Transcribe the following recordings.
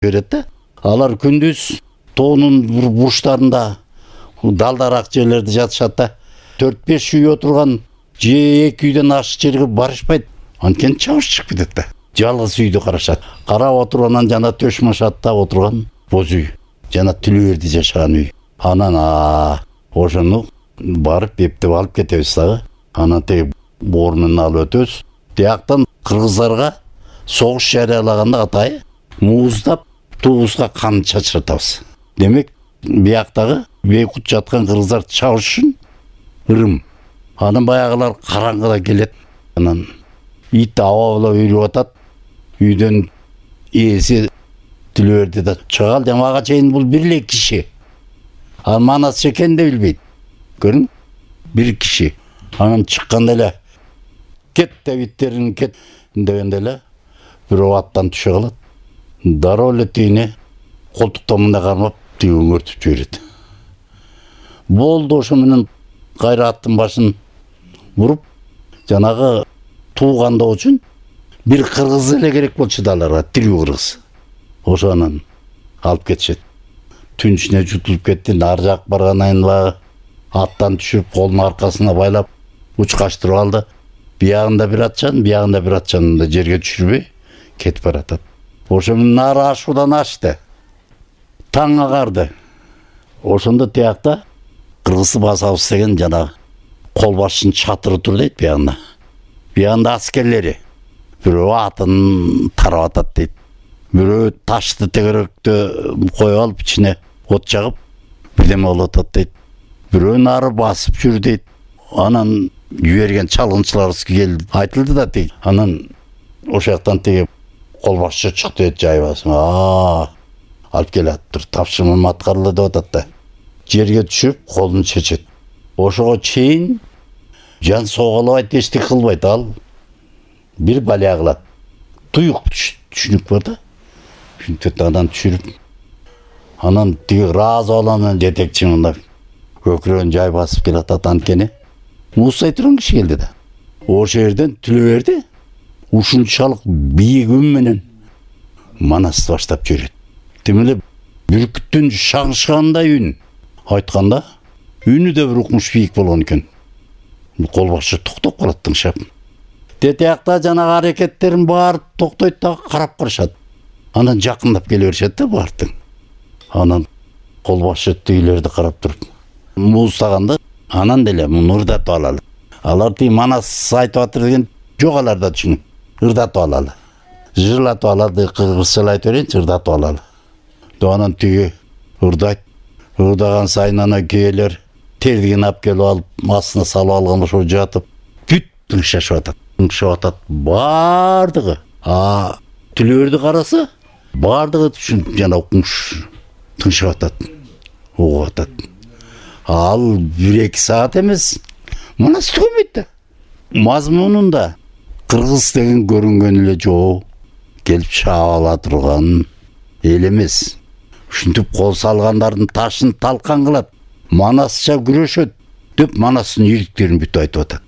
берет да. Алар күндүз тоонун бурчтарында далдарак жерлерде жатышат да. 4-5 үй отурган же 2 үйдөн ашык жерге барышпайт. Анткени чабыш чыгып кетет да. Жалгыз үйдү карашат. Карап отургандан жана төш машатта отурган боз үй. Жана Түлөберди жашаган үй. Анан ошону барып эптеп алып кетебиз дагы. Анан теги орнун алып өтөбүз. Тияктан кыргыздарга согуш жарыялаганда атайы мууздап туубузга кан чачыратабыз. Демек, бияктагы бейкут жаткан кыргыздарды чабыш үчүн ырым. Анан баягылар караңгыда келет. Анан ит абалап үрүп атат. Үйдөн ээси Түлөберди да чыгал деп ага чейин бул бир эле киши. Манас экен деп билбейт. Көрүң? Бир киши. Анан чыкканда эле кет деп иттерин кет дегенде эле бирөө аттан түшө калат. Дароо эле тигине колтуктан мындай кармап тиги өңөртүп жиберет. Болду, ошо менен кайра аттын башын буруп, жанагы туугандоо үчүн бир кыргыз эле керек болчу да аларга, тирүү кыргыз. Ошо анан алып кетишет. Түн ичине жутулуп кетти, ар жак баргандан кийин аттан түшүп, колун аркасына байлап, учкаштырып алды. Биягында бир атчан, биягында бир атчанды жерге түшүрбөй кетип баратат. Ошо менен нары ашуудан ашты. Таң агарды. Ошондо тиякта кыргызды басабыз деген жана кол башчынын чатыры тур дейт биягында. Биягында аскерлери. Бирөө атын тарап атат дейт. Бирөө ташты тегеректе коюп алып ичине от жагып бирдеме болуп атат дейт. Бирөө нары басып жүр дейт. Анан жиберген чалгынчылар келди. Айтылды да тиги. Анан ошол жактан тиги кол башчы чыкты дейт жайбасын. Алып келатыр. Тапшырмам аткарылды деп атат да. Жерге түшүп колун чечет. Ошого чейин жан соголобайт, эчтеке кылбайт. Ал бир балия кылат. Туюк түшүнүк бар да. Шүнтөт анан түшүрүп. Анан тиги ыраазы баланын жетекчи мындай көкүрөгүн жай басып келатат анткени. Муусай турган киши келди да. Ошо жерден Түлөберди ушунчалык бийик үн менен Манасты баштап жүрөт. Демеле бүркүттүн шаңышкандай үн айтканда, үнү да бир укмуш бийик болгон экен. Кол башчы токтоп калат тыңшап. Тетиякта жанагы аракеттерин баары токтойт да карап карашат. Анан жакындап келе беришет да баардык. Анан кол башчы тигилерди карап туруп муустаганда, анан деле муну ырдатып алалы. Алар тиги Манас айтып атыр деген жок, аларда түшүнүк. Ырдатып алалы. Жырлатып алады, кыргызча айтып берейинчи, ырдатып алалы. Анан тиги ырдайт. Ырдаган сайын ана кээлер тердигин алып келип алып, астына салып алган ошо жатып, бүт тыңшашып атат. Тыңшап атат баардыгы. Түлөберди караса, баардыгы түшүнүп жана укмуш тыңшап атат. Угуп атат. Ал 1-2 саат эмес, Манас түгөнбөйт да. Мазмунунда кыргыз деген көрүнгөн эле жоо, келип чаап ала турган эл эмес. Ушинтип кол салгандардын ташын талкан кылат. Манасча күрөшөт деп Манастын ийгиликтерин бүт айтып атат.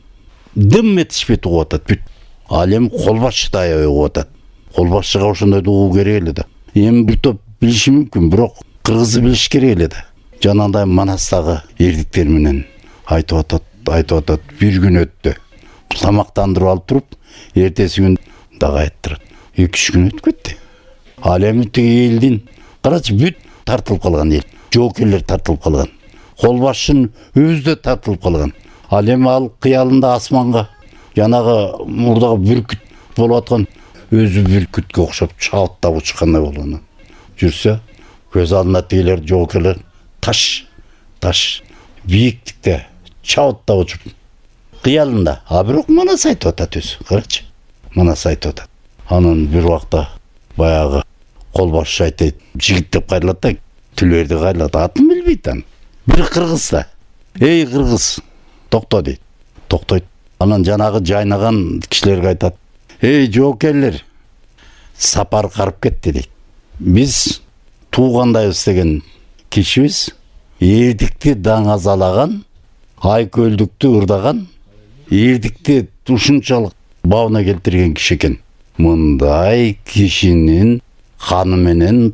Дым этишпейт угуп атат бүт. Ал эми кол башчы да аябай угуп атат. Кол башчыга ошондойду угуу керек эле да. Эми бир топ билиши мүмкүн, бирок кыргызды билиш керек эле да. Жанагындай Манастагы эрдиктер менен айтып атат. Бир күн өттү. Тамактандырып алып туруп, эртеси күн дагы айттырат. 2-3 күн өтүп кетти. Ал эми тиги элдин карачы бүт тартылып калган эл. Жоокерлер тартылып калган. Кол башчынын өзү да тартылып калган. Ал эми ал кыялында асманга жанагы мурдагы бүркүт болуп аткан өзү бүркүткө окшоп чабыттап учкандай болгон. Жүрсө, көз алдында тигилер жоокерлер таш бийиктикте чабыттап учуп кыялында. Бирок Манас айтып атат өзү. Карачы. Манас айтып атат. Анан бир убакта баягы кол башчы айтат, жигит деп кайрылат да, Түлөберди кайрылат. Атын билбейт аны. Бир кыргыз да. Эй кыргыз, токто дейт. Токтойт. Анан жанагы жайнаган кишилерге айтат. Эй жоокерлер, сапар карып кетти дейт. Биз туугандайбыз деген кишибиз эрдикти даңазалаган, айкөлдүктү ырдаган, эрдикти ушунчалык бабына келтирген киши экен. Мындай кишинин ханы менен